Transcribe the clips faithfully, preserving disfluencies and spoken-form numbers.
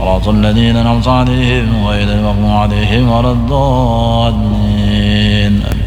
صراط الذين أنعمت عليهم غير المغضوب عليهم ولا الضالين. آمين.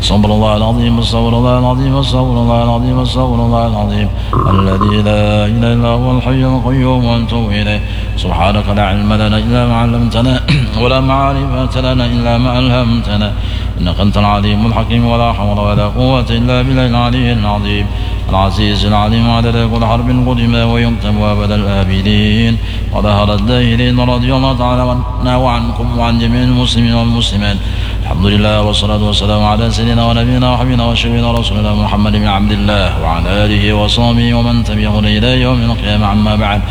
أستغفر الله العظيم، أستغفر الله العظيم، أستغفر الله العظيم، أستغفر الله العظيم الذي لا إله إلا هو الحي القيوم وأتوب إليه. سبحانك لا علم لنا إلا ما علمتنا ولا معرفة لنا إلا ما علمتنا إنك أنت العليم الحكيم. ولا حول ولا قوة إلا بالله العلي العظيم العزيز العليم عدد كل حرف كتب ويكتب أبد الآبدين. وظهر الدائرين رضي الله تعالى عنا وعنكم وعن جميع المسلمين والمسلمات. الحمد لله والصلاة والسلام على سيدنا ونبينا وحبيبنا وشفيعنا رسول الله محمد بن عبد الله وعلى آله وصحبه ومن تبعه إلى يوم القيامة. أما بعد،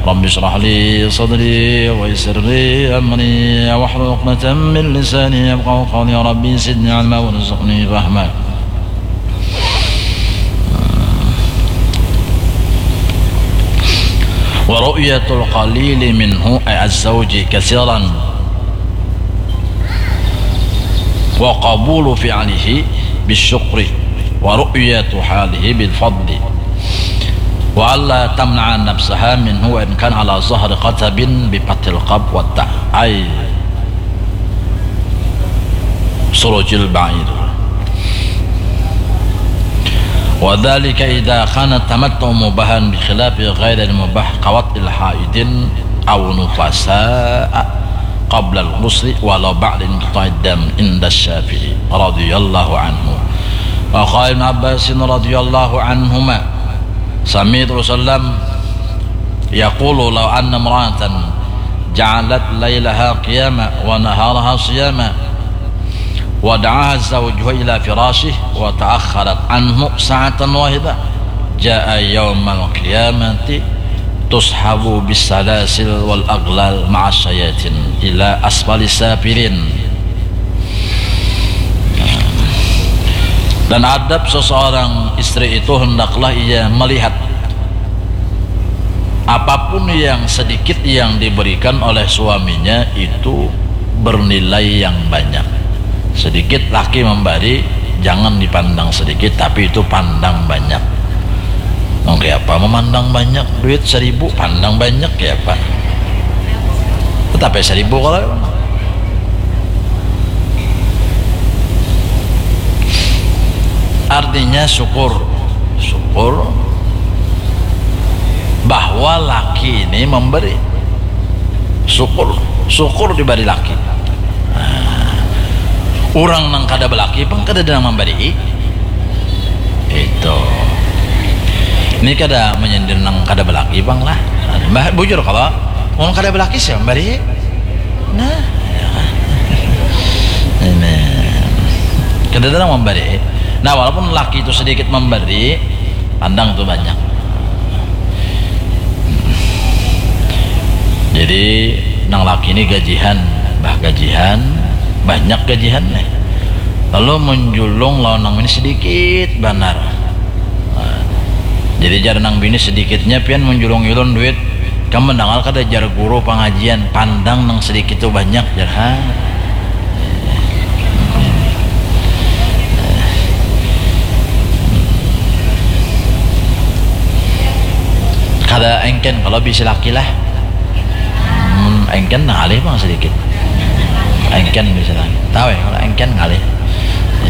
رب اشرح لي صدري ويسر لي أمري واحلل عقدة من لساني يفقهوا قولي. ربي زدني علما وارزقني فهما. ورؤية القليل منه، أي الزوج، كثيرا وقبول فعله بالشكر ورؤية حاله بالفضل، وألا تمنع نفسها منه وإن كان على ظهر قتب بفتح القاف والتاء، أي سروج البعير. وذلك إذا كان التمتع مباحا بخلاف غير المباح كوطء حائض أو نفساء قبل الغسل ولو بعد انقطاع الدم عند الشافعي رضي الله عنه. وقال ابن عباس رضي الله عنهما، سمعت رسول الله يقول: لو أن امرأة جعلت ليلها قياما ونهارها صياما ودعاها زوجها إلى فراشه وتأخرت عنه ساعة واحدة جاء يوم القيامة تصحب بالسلاسل والأغلال مع الشياطين إلى أسفل السافلين. Dan adab seseorang istri itu, hendaklah ia melihat apapun yang sedikit yang diberikan oleh suaminya itu bernilai yang banyak. Sedikit laki memberi, jangan dipandang sedikit, tapi itu pandang banyak. Nang kaya apa memandang banyak? Duit seribu pandang banyak kaya apa? Tetap ya seribu kalau. Artinya syukur, syukur bahwa laki ini memberi. Syukur, syukur diberi laki. Nah, urang nang kada belaki pang kada ada nang memberi. Itu. Ini kada menyindir nang kada belaki pang lah. Bah, bujur kalau mun kada belaki siapa memberi? Nah, ya. Ini. Kada ada nang memberi. Nah, walaupun laki itu sedikit memberi, pandang tu banyak. Jadi nang laki ni gajihan, bah gajihan, banyak gajihan nih. Lalu menjulung lawan nang ini sedikit banar. Nah, jadi jar nang bini, sedikitnya pian menjulung ulun duit. Kamu mendengar kada jar guru pengajian, pandang nang sedikit tu banyak jar ha. Kada engken kalau bisi laki lah. Hmm, engken ngalih bang sedikit. Engken bisa lah. Tahu ya kalau engken ngalih.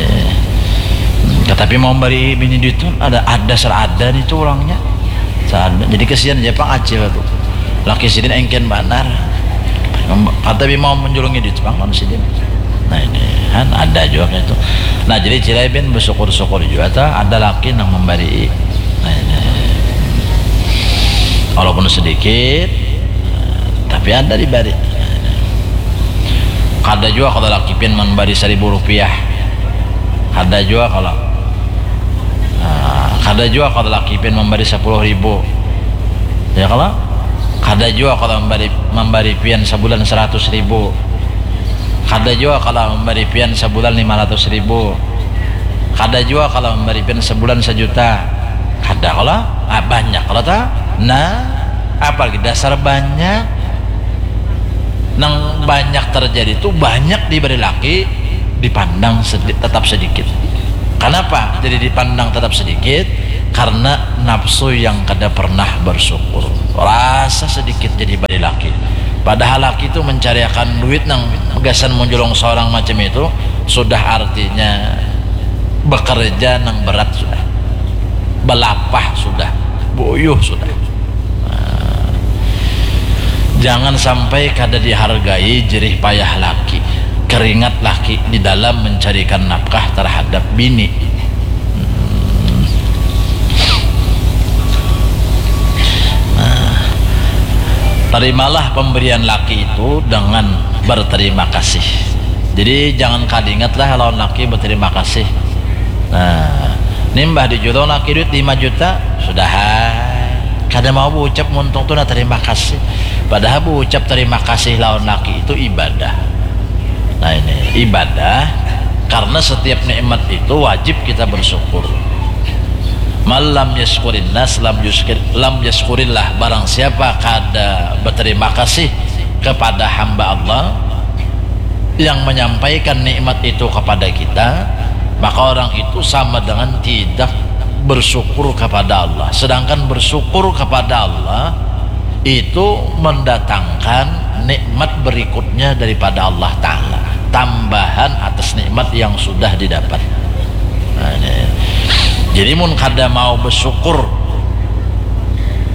Eh, tetapi mau beri bini duit tu ada ada serada nih tuh orangnya. Serada. Jadi kesian aja pang acil tuh. Laki sidin engken banar. Kata bi mau menjulungi duit pang lawan sidin. Nah ini kan ada juga kayak itu. Nah jadi cilai bin bersyukur-syukur juga ta ada laki nang memberi. Nah ini walaupun sedikit tapi ada diberi. Kada juga kalau laki pian memberi seribu rupiah. Kada juga kalau. Nah, kada juga kalau laki pian memberi sepuluh ribu. Ya kalau? Kada juga kalau memberi memberi pian sebulan seratus ribu. Kada juga kalau memberi pian sebulan lima ratus ribu. Kada juga kalau memberi pian sebulan sejuta. Kada kalau? Ah, banyak kalau ta? Nah, apalagi dasar banyak. Nang banyak terjadi tu banyak diberi laki, dipandang sedi tetap sedikit. Kenapa jadi dipandang tetap sedikit? Karena nafsu yang kada pernah bersyukur. Rasa sedikit jadi bari laki. Padahal laki itu mencariakan duit nang gasan menjulung seorang macam itu sudah artinya bekerja nang berat sudah, belapah sudah, buyuh sudah. Nah, jangan sampai kada dihargai jerih payah laki, keringat laki di dalam mencarikan nafkah terhadap bini. Hmm. Nah, terimalah pemberian laki itu dengan berterima kasih. Jadi jangan kada ingatlah lawan laki berterima kasih. Nah, nimbah dijulung laki duit lima juta, sudah ai. Kada mau berucap muntung tu nah terima kasih. Padahal berucap terima kasih lawan laki itu ibadah. Nah, ini ibadah karena setiap nikmat itu wajib kita bersyukur. Malam yaskurin nas lam yuskir, lam yaskurillah. Barang siapa kada berterima kasih kepada hamba Allah yang menyampaikan nikmat itu kepada kita, maka orang itu sama dengan tidak bersyukur kepada Allah. Sedangkan bersyukur kepada Allah itu mendatangkan nikmat berikutnya daripada Allah Ta'ala, tambahan atas nikmat yang sudah didapat. Nah, ini. Jadi mun kada mau bersyukur,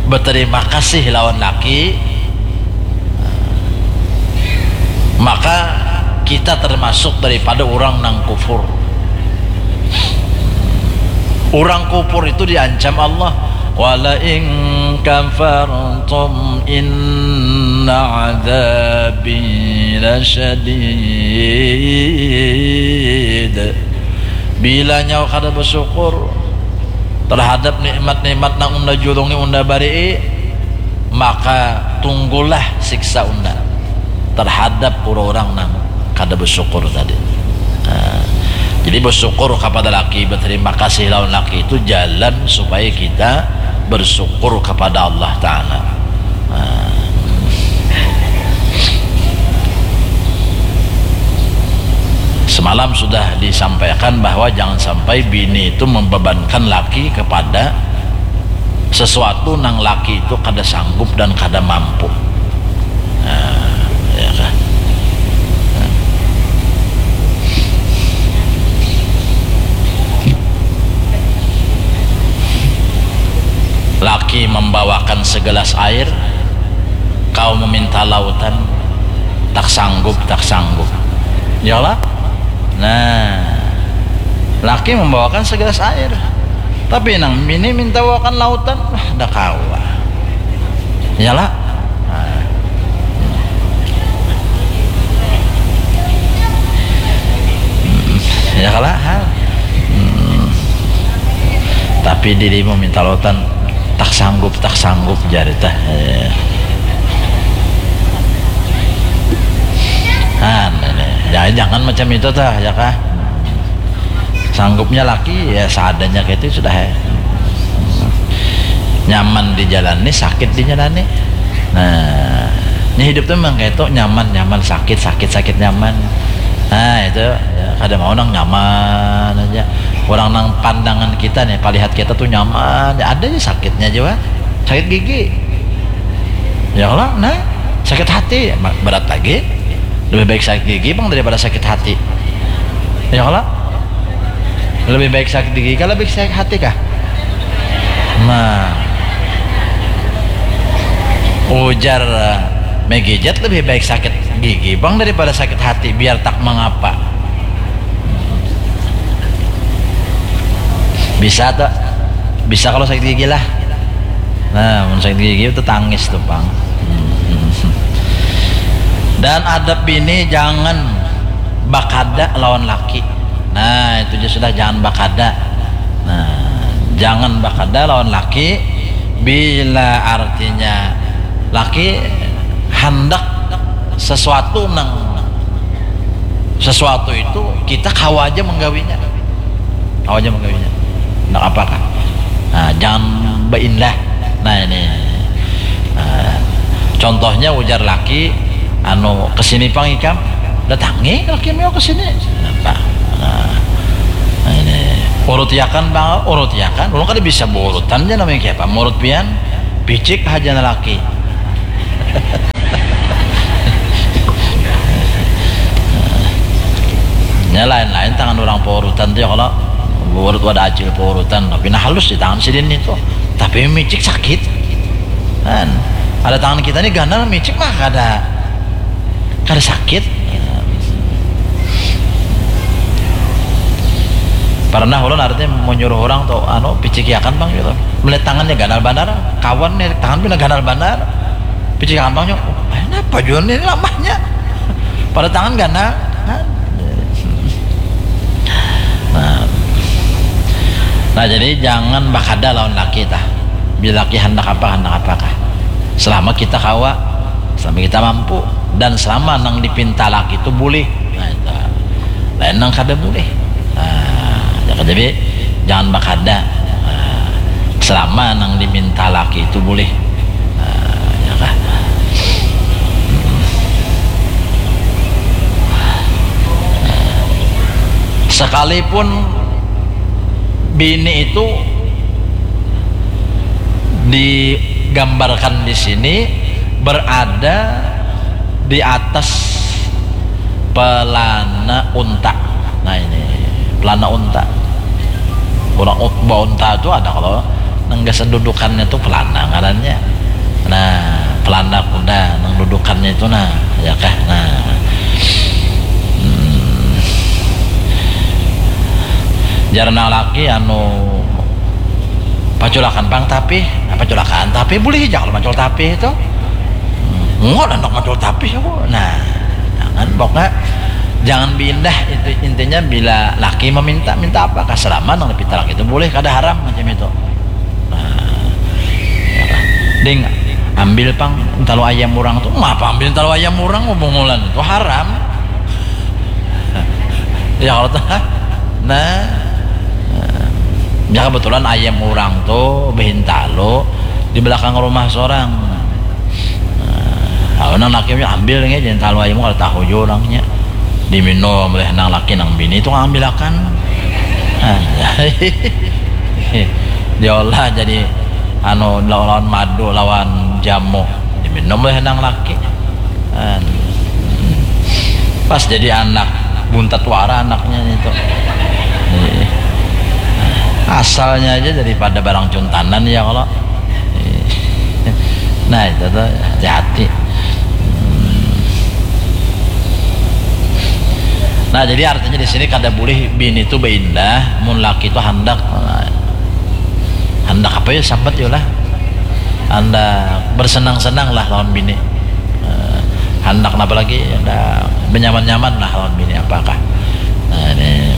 berterima kasih lawan laki, maka kita termasuk daripada orang nang kufur. Orang kufur itu diancam Allah, "Wala in kafartum inna adzabi lasyadid." Bila nyawa kada bersyukur terhadap nikmat-nikmat nang unda julungi, unda barii, maka tunggulah siksa unda terhadap orang-orang nang kada bersyukur tadi. Nah, jadi bersyukur kepada laki, berterima kasih lawan laki itu jalan supaya kita bersyukur kepada Allah Ta'ala. Nah, semalam sudah disampaikan bahwa jangan sampai bini itu membebankan laki kepada sesuatu nang laki itu kada sanggup dan kada mampu. Nah, ya kah? Laki membawakan segelas air, kau meminta lautan, tak sanggup, tak sanggup. Iyalah? Nah, laki membawakan segelas air, tapi nang bini minta bawakan lautan, wah, dah kawa. Iyalah? Nah. Hmm, ya kalah, ha? Hmm. Tapi dirimu minta lautan, tak sanggup, tak sanggup, jar tah. Eh. Nah, ini. Ya, jangan macam itu tah, ya kah? Sanggupnya laki, ya, seadanya kayak itu sudah, ya. Nyaman dijalani, sakit dijalani. Nah, ini hidup tuh memang kayak itu, nyaman, nyaman, sakit, sakit, sakit, nyaman. Nah, itu, ya, kada mau nang nyaman aja. Orang nang pandangan kita nih, palihat kita tuh nyaman, ya, ada aja sakitnya juga. Sakit gigi. Ya Allah, nah, sakit hati, ma-, berat lagi. Lebih baik sakit gigi, bang, daripada sakit hati. Ya Allah, lebih baik sakit gigi kah, lebih sakit hati kah? Nah, ujar, eh, Megijat, lebih baik sakit gigi, bang, daripada sakit hati, biar tak mengapa. Bisa tuh, bisa kalau sakit gigi lah. Nah, mun sakit gigi itu tangis tuh, bang. Dan adab bini, jangan bakada lawan laki. Nah, itu aja sudah, jangan bakada. Nah, jangan bakada lawan laki bila artinya laki handak sesuatu nang, sesuatu itu kita kawa aja menggawinya. Kawa aja menggawinya. Ndak apa kah? Nah, jangan baindah. Nah, ini. Nah, contohnya ujar laki, anu, kesini pang ikam. Datangi laki meo kesini. Napa? Nah, nah, ini. Urutiakan bang, urutiakan. Ulun kada bisa beurutan aja namanya kiapa. Murut pian, picik haja laki. Lain-lain tangan orang paurutan tu ya, kalau urut wadah acil paurutan, tapi nah halus di tangan sidin itu, tapi micik sakit. Kan ada tangan kita ni ganal, micik mah kada, kada sakit. Pernah ulun artinya menyuruh orang tu, anu, picikiakan pang gitu, melihat tangannya ganal banar, kawan nih tangan pina ganal banar, picikiakan pang nyo, "Eh, napa jua nih lamahnya?" Pada tangan ganal. Nah. Nah, jadi jangan bakada lawan laki tah. Bila laki handak apa, handak apakah. Selama kita kawa, selama kita mampu, dan selama nang dipinta laki itu boleh. Nah, itu. Lain nang kada boleh. Nah, ya kan, jadi jangan bakada. Nah, selama nang diminta laki itu boleh. Nah, ya kah? Sekalipun bini itu digambarkan di sini berada di atas pelana unta. Nah, ini pelana unta. Orang baunta itu ada kalau nang gasan dudukannya tuh pelana ngarannya. Nah, pelana kuda nang dudukannya itu, nah, ya kah? Nah. Hmm. Jar nang laki, anu, paculakan pang tapih. Nah, paculakan tapih boleh aja kalau macul tapih itu. Hmm. Enggak, anak macul tapih aku. Nah, jangan, pokoknya jangan biindah itu, intinya bila laki meminta, minta apa, kasalaman nang dipinta laki itu boleh, kada haram macam itu. Nah, ya kan? Ding, ambil pang talu ayam orang tu. Ngapa ambil talu ayam orang, bungulan itu haram. Ya kalau tu, nah, ya kebetulan ayam orang tu behintalu di belakang rumah seorang. Nah, nang laki ambil nih, jangan talu ayam, kalau tahu jua orangnya. Diminum oleh nang laki, nang bini itu ngambil akan. Nah, diolah jadi anu, lawan madu, lawan jamu, diminum oleh nang laki. Nah, pas jadi anak, buntat wara anaknya itu. Asalnya aja daripada barang cuntanan ya kalau. Nah, itu tuh hati-hati. Nah, jadi artinya di sini kada boleh bini itu beindah, mun laki itu handak, handak apa ya, sambat ya lah, handak bersenang-senang lah lawan bini. Eh, handak apa lagi, handak benyaman-nyaman lah lawan bini, apakah. Nah, ini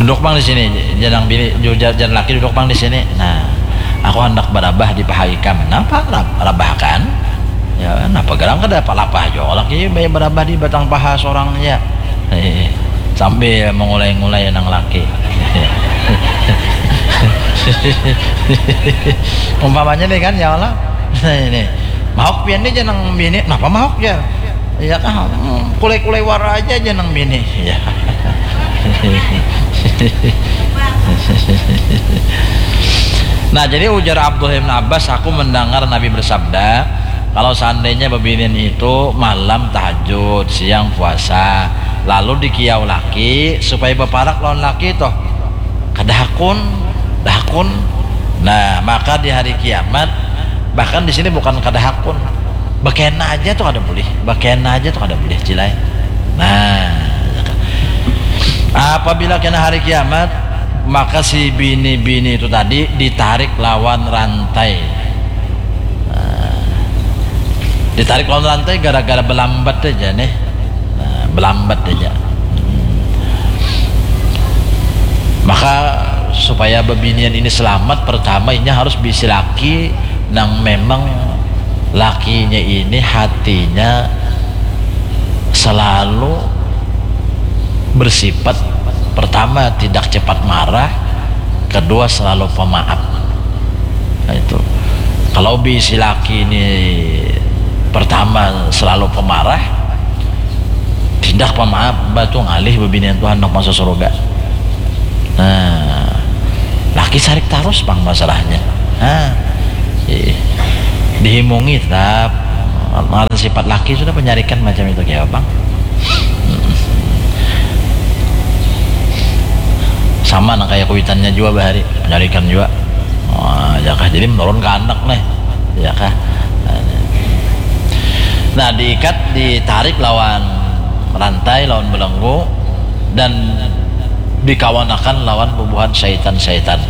duduk pang di sini, jangan bini, ju-, jar laki, duduk pang di sini. Nah, aku handak barabah di paha ikam. Napa rab-, rabahkan? Ya, napa garang kada apa lapah jua laki, baya barabah di batang paha sorang ya. Sambil mengulai-ngulai nang laki. Umpamanya nih kan, ya Allah. Nah, ini. Mahok pian nih, jangan bini. Napa mahok ya? Iya kah? Hmm, kulai-kulai wara aja, jangan bini. Ya. Nah, jadi ujar Abdullah bin Abbas, aku mendengar Nabi bersabda, kalau seandainya bebinian itu malam tahajud, siang puasa, lalu dikiau laki supaya beparak lawan laki toh, kada hakun, kada hakun. Nah, maka di hari kiamat, bahkan di sini bukan kada hakun, bakena aja tuh kada boleh, bakena aja tuh kada boleh, cilai. Nah, apabila kena hari kiamat, maka si bini-bini itu tadi ditarik lawan rantai. Nah, ditarik lawan rantai gara-gara belambat aja nih. Nah, belambat aja. Maka supaya bebinian ini selamat, pertama inya harus bisi laki nang memang lakinya ini hatinya selalu bersifat, pertama, tidak cepat marah, kedua, selalu pemaaf. Nah, itu. Kalau bisi laki ini pertama selalu pemarah, tidak pemaaf, batu ngalih bebinian Tuhan handak masuk surga. Nah, laki sarik tarus pang masalahnya. Nah, ih, dihimungi tetap. Ngaran sifat laki sudah penyarikan macam itu, kayak apa? Mm-mm. Sama nang kaya kuitannya jua bahari, menyalikan jua. Wah, ya kah, jadi menurun ke anak nih, ya kah. Nah, diikat, ditarik lawan rantai, lawan belenggu, dan dikawanakan lawan bubuhan syaitan-syaitan,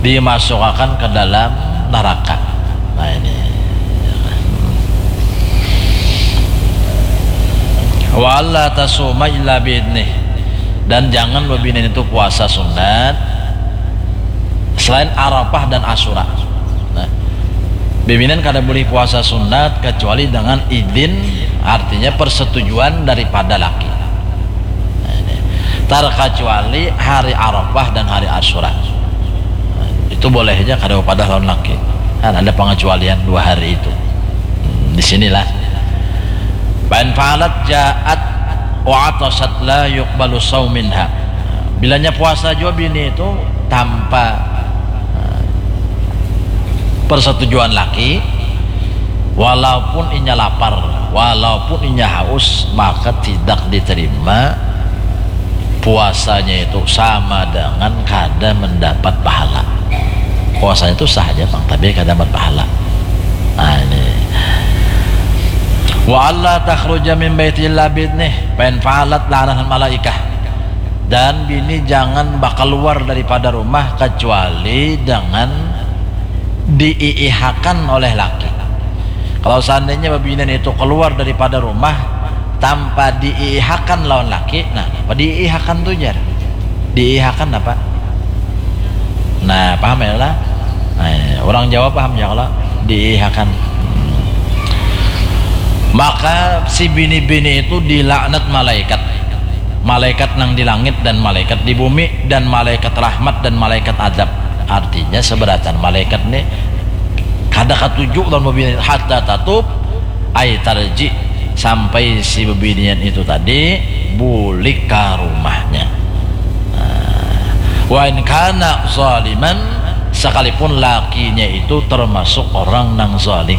dimasukakan ke dalam neraka. Nah, ini. Wa alla tasuma illa biidnih. Dan jangan bebinian itu puasa sunat selain Arafah dan Asyura. Nah, bebinian kada boleh puasa sunat kecuali dengan izin, artinya persetujuan daripada laki. Nah, ini. Terkecuali hari Arafah dan hari Asyura. Nah, itu boleh aja kada upadah lawan laki. Kan ada pengecualian dua hari itu. Hmm, di sinilah. Fa in fa'alat ja'at wa atasat la yuqbalu shaum minha. Bilanya puasa jua bini itu tanpa, eh, persetujuan laki, walaupun inya lapar, walaupun inya haus, maka tidak diterima puasanya itu, sama dengan kada mendapat pahala. Puasanya itu sah aja pang, tapi kada dapat pahala. Nah, ini. Wa alla takhruja min baiti illa biidnih, fa in fa'alat la'anahal malaikah. Dan bini jangan bakaluar daripada rumah kecuali dengan diiihakan oleh laki. Kalau seandainya bebinian itu keluar daripada rumah tanpa diiihakan lawan laki, nah, apa diiihakan tu, jar? Diiihakan apa? Nah, paham ya lah? Nah, orang Jawa paham ya kalau diiihakan. Hmm. Maka si bini-bini itu dilaknat malaikat. Malaikat nang di langit dan malaikat di bumi dan malaikat rahmat dan malaikat adab. Artinya, seberatan malaikat ni kada katuju lawan bebinian, hatta tatub, ai tarji, sampai si bebinian itu tadi bulik ka rumahnya. Nah, wa in kana zaliman, sekalipun lakinya itu termasuk orang nang zalim.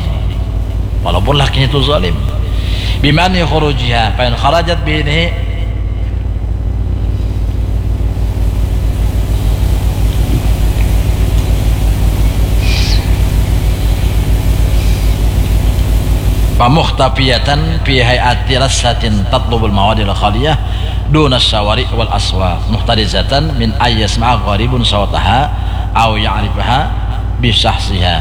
Walaupun lakinya itu zalim. Bimani khurujiha, fa in kharajat bihi fa muhtafiyatan fi hay'ati rassatin tatlubul mawadil khaliyah duna syawari wal aswaq, muhtarizatan min ayyasma'a gharibun sautaha au ya'rifaha bisahsiha,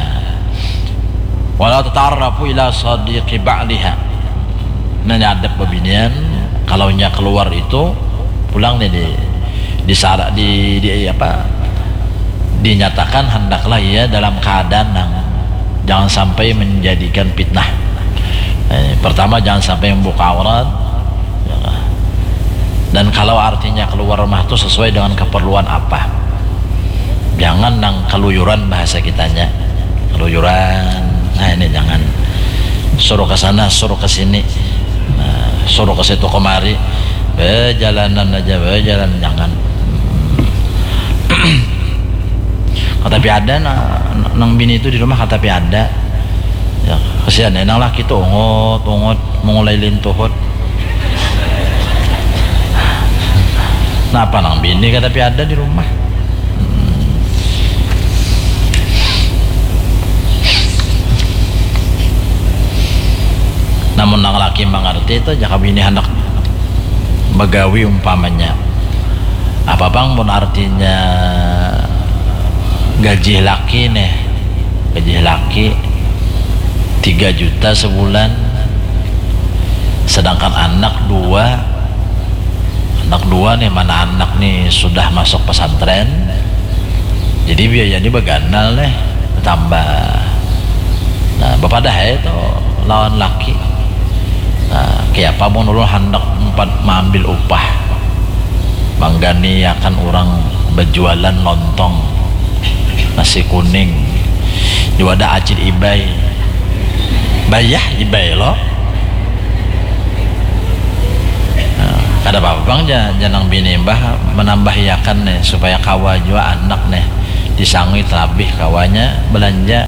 wala tata'arrafu ila sadiqi ba'liha. Nah, ini adab bebinian, kalau nya keluar itu pulang nih di, di sara-, di, di apa, dinyatakan hendaklah ia dalam keadaan yang jangan sampai menjadikan fitnah. Eh, pertama, jangan sampai membuka aurat. Ya. Dan kalau artinya keluar rumah tuh sesuai dengan keperluan apa. Jangan nang keluyuran, bahasa kitanya. Keluyuran. Nah, ini jangan. Suruh ke sana, suruh ke sini. Nah, suruh ke situ kemari. Bejalanan aja, bejalan, jangan. Katapi ada na-, nang bini itu di rumah, katapi ada. Ya, kasihan ya, nang laki tuh ungut, ungut, mengulai lintuhut. Napa nang bini katapi ada di rumah? Hmm. Namun nang laki mangarti itu, jaka bini handak bagawi umpamanya. Apa pang mun artinya gaji laki nih, gaji laki tiga juta sebulan, sedangkan anak dua, anak dua nih, mana anak nih sudah masuk pesantren, jadi biaya ini baganal nih, bertambah. Nah, bapadah aja tuh lawan laki. Nah, kayapa mun ulun handak umpat maambil upah, mangganiakan urang bajualan lontong, nasi kuning, di wadah acil Ibai. Bayah Ibai lo. Nah, kada papa pang ja, ja nang bini bah manambahiakan nih, supaya kawa jua anak nih disangui talabih kawanya balanja.